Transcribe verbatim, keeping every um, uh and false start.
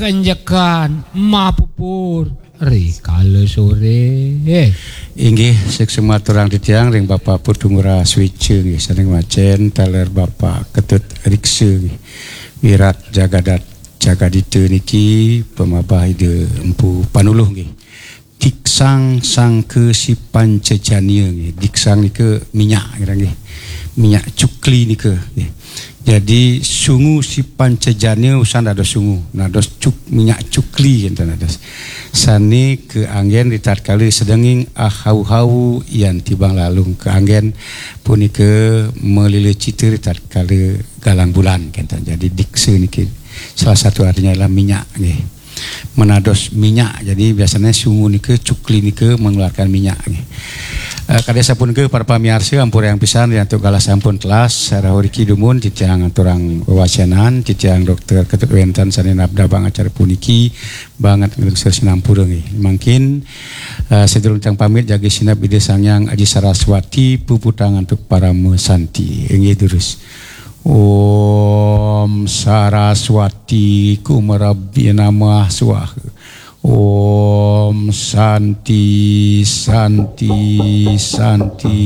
kenjekan mapupur ri kala sore. Inggih, suksma aturang titiang ring Bapak Putu Ngurah Switcha nggih, sané ngwacén taler Bapak Ketut Riksa nggih. Wirat Jagadat Jagadita niki pamabah Ida Empu Panuluh nggih. Diksang sangka si pancajania nggih. Diksang nika minyak ngira nggih. Minyak cukli nika nggih. Jadi sungu si pancajania usan dados sungu, nados cuk, minyak cukli enten dados. Sané kaanggén ritatkala sedenging ahau-hau yan tibang lalung kaanggén punika malila cita ritatkala galang bulan kenten. Jadi diksa niki salah satu artinya adalah minyak nggih. Menados minyak. Jadi biasanya sungu nika, cukli nika mengeluarkan minyak nggih. Eh, kadi sapunika para pamiarsa, ampurayang pisan ri antuk galah sampun telas, sarah riki dumun titiang aturang wewacenan, titiang Dokter Ketut Wénten sané nabdabang acara puniki, banget nglungsur sinampura nggih. Mangkin eh, sadurung titiang pamit jagi sineb Ida Sang Hyang Aji Saraswati puputang antuk parama santi. Inggih durus. Om Saraswati Kumarabhi Namah Swaha. Om Santi, Santi, Santi.